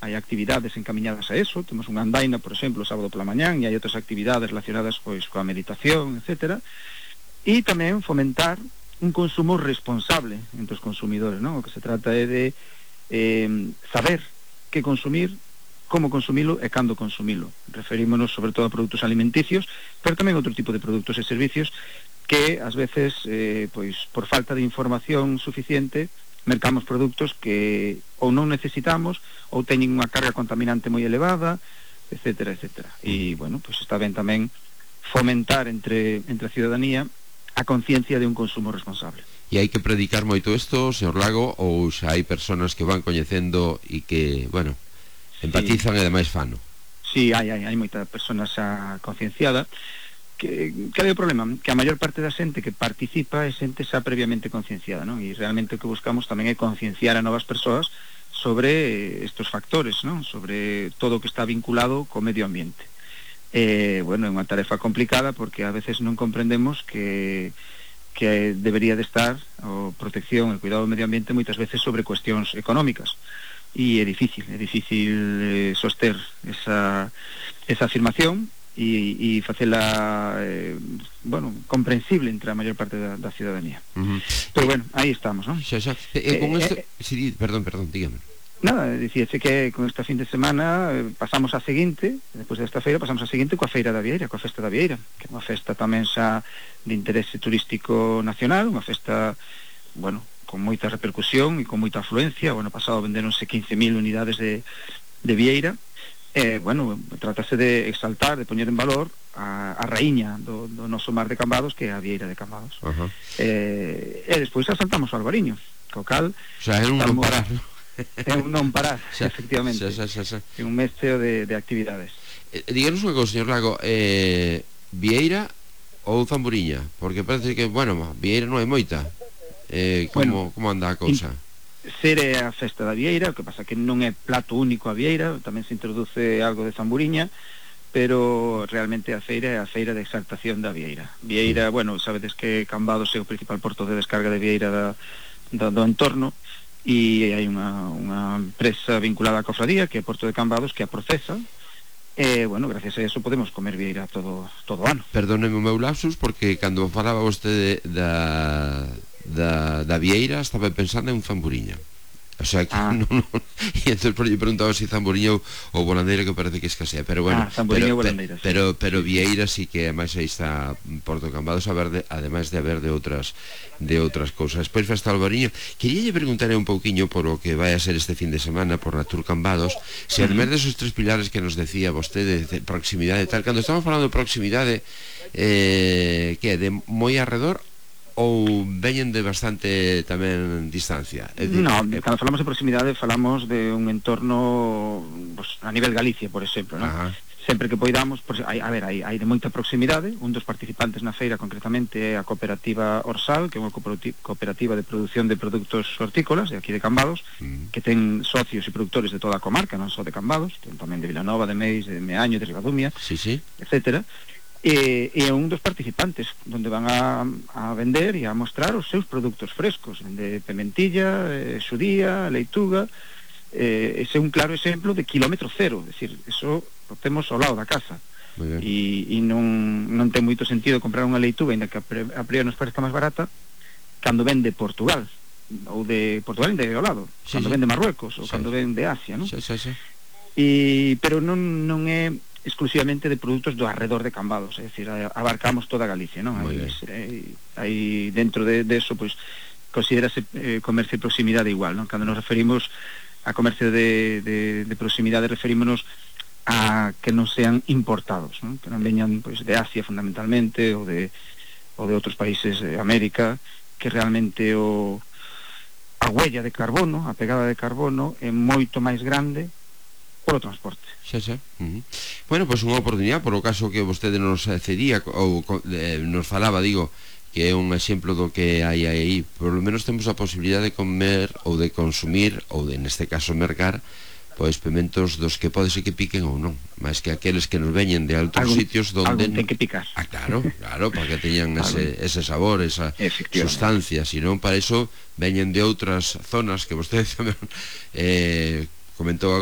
hai actividades encamiñadas a eso, temos unha andaina, por exemplo, o sábado pola mañán, e hai outras actividades relacionadas pois coa meditación, etcétera, e tamén fomentar un consumo responsable entre os consumidores, non? O que se trata é de saber que consumir, como consumilo e cando consumilo. Referímonos sobre todo a produtos alimenticios, pero tamén outro tipo de produtos e servicios que ás veces, pois por falta de información suficiente, mercamos produtos que ou non necesitamos ou teñen unha carga contaminante moi elevada, etcétera, etcétera. E, bueno, pois está ben tamén fomentar entre a ciudadanía a conciencia de un consumo responsable. E hai que predicar moito isto, señor Lago, ou xa hai personas que van coñecendo e que, bueno, empatizan e demais fano? Sí, hai moita persona xa concienciada. Que é o problema? Que a maior parte da xente que participa é xente xa previamente concienciada, non? E realmente o que buscamos tamén é concienciar a novas persoas sobre estes factores, non? Sobre todo o que está vinculado co medio ambiente. Bueno, é unha tarefa complicada porque a veces non comprendemos que debería de estar a protección e o cuidado do medio ambiente moitas veces sobre cuestións económicas, e é difícil soster esa afirmación e facela comprensible entre a maior parte da ciudadanía. Pero bueno, aí estamos, non? Con isto... Sí, perdón, dígame. Nada, dicíase que con esta fin de semana pasamos a seguinte, despois desta feira pasamos a seguinte coa Feira da Vieira, coa Festa da Vieira, que é unha festa tamén xa de interese turístico nacional, unha festa, bueno, con moita repercusión e con moita afluencia. O ano pasado venderonse 15.000 unidades de Vieira. Bueno, trátase de exaltar, de poñer en valor a raíña do noso mar de Cambados, que é a Vieira de Cambados. E despois asaltamos ao Albariño, co cal... O sea, é un non parar, non? É un non parar, efectivamente. É un mesteo de actividades. Díganos unha cousa, señor Lago, Vieira ou Zamburiña? Porque parece que, bueno, Vieira non hai moita. Como anda a cousa? Ser é a festa da Vieira, o que pasa que non é plato único a Vieira, tamén se introduce algo de Zamburiña, pero realmente a feira é a feira de exaltación da Vieira. Vieira, bueno, sabedes que Cambados é o principal porto de descarga de Vieira do entorno, e hai unha empresa vinculada á cofradía, que é Porto de Cambados, que a procesa, e, bueno, gracias a eso podemos comer Vieira todo o ano. Perdóneme o meu lapsus, porque cando falaba vostede da Vieira estaba pensando en Zamburiña. O sea que non. E entón lle preguntaba se Zamburiña ou Volandeira, que parece que escasea, pero bueno, Zamburiña ou Volandeira, pero Vieira sí que ademais aí está Porto Cambados, ademais de haber de outras cousas. Despois Festa Albariño. Queríalle preguntar un pouquiño por o que vai a ser este fin de semana por Natur Cambados, se ademais desos tres pilares que nos decía vostede, de proximidade e tal, cando estamos falando de proximidade, que é de moi arredor ou veñen de bastante tamén distancia? Non, cando falamos de proximidade falamos de un entorno, pues, a nivel Galicia, por exemplo, non? Sempre que poidamos, hai de moita proximidade. Un dos participantes na feira concretamente é a cooperativa Orsal, que é unha cooperativa de produción de produtos hortícolas de aquí de Cambados, que ten socios e produtores de toda a comarca, non só de Cambados, ten tamén de Vilanova, de Meis, de Meaño, de Ribadumia, etcétera. E é un dos participantes onde van a vender e a mostrar os seus produtos frescos, de pimentilla, xudía, leituga. Ese é un claro exemplo de kilómetro cero, é dicir, eso o temos ao lado da casa, e non ten moito sentido comprar unha leituga, ainda que a priori nos parezca máis barata, cando ven de Portugal, ou de Portugal ainda ao lado, cando ven de Marruecos, ou cando ven de Asia, non? Pero non é exclusivamente de produtos do arredor de Cambados, é dicir, abarcamos toda Galicia, non? Aí dentro de eso, pois, considerase comercio de proximidade igual, non? Cando nos referimos a comercio de proximidade, referímonos a que non sean importados, non? Que non veñan, pois, de Asia fundamentalmente, ou de outros países de América, que realmente a huella de carbono, a pegada de carbono é moito máis grande polo transporte. Bueno, pois unha oportunidade, por o caso que vostede nos cedía ou nos falaba, digo, que é un exemplo do que hai aí. Por lo menos temos a posibilidade de comer ou de consumir, ou de, neste caso, mercar, pois pimentos dos que pode ser que piquen ou non, máis que aqueles que nos veñen de altos sitios donde ten que picar. Claro, para que teñan ese sabor, esa sustancia. Se non, para iso veñen de outras zonas que vostede tamén comentou agora.